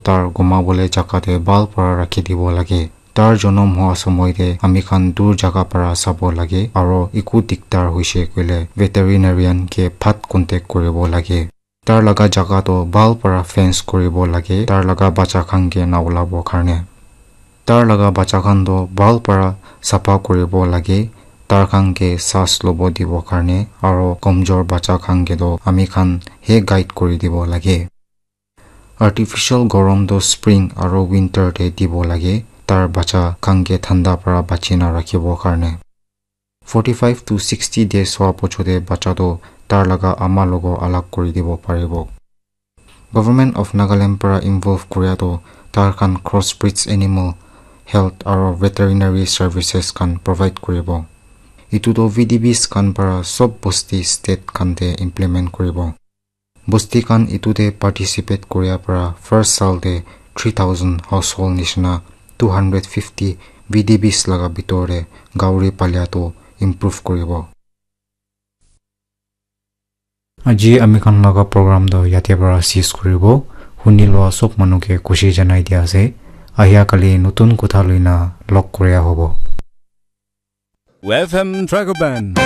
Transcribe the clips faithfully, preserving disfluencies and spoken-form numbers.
Tar gumabole jaga te bhal para rakhi dibo lage. Tar jonom hoa somoi te ami khan dur jaga para sabo lage, aro eku diktar hoise koile veterinarian ke phat contact kuribo lage. Tar laga jaga toh bhal para fence kuribo lage, tar laga bacha khan ke na ulabo karne. Tar laga bacha khan toh bhal para sapha kuribo lage, tar khan ke saas lobo dibo karne, aro komjor bacha khan ke toh ami khan he guide kuri dibo lage. Artificial gorom toh spring aro winter te dibo lage, tar bacha khan ke thanda para bachi na rakhibo karne. Forty-five to sixty days hoa pochote bacha toh tar laga ama logo alag kuri dibo paribo. Government of Nagaland para involve kuria toh tar khan crossbreeds animal health aro veterinary services khan provide kuribo. Etu toh V D Bs khan para sob bosti state khan te implement kuribo. Bosti khan etu te participate kuria para first saal te three thousand household nishina two hundred fifty V D Bs laga bitor te gauri palia toh improve kuribo. Aji ami khan laga program toh yate para cease kuribo. Huni loa sob manu ke khushi janai dia ase. Ahia kali notun kotha loina log kuria hobo. F M Dragon Band.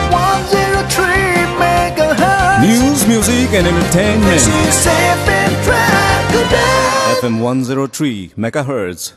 One zero three megahertz. News, music, and entertainment. This is F M Dragon Band. F M one zero three megahertz.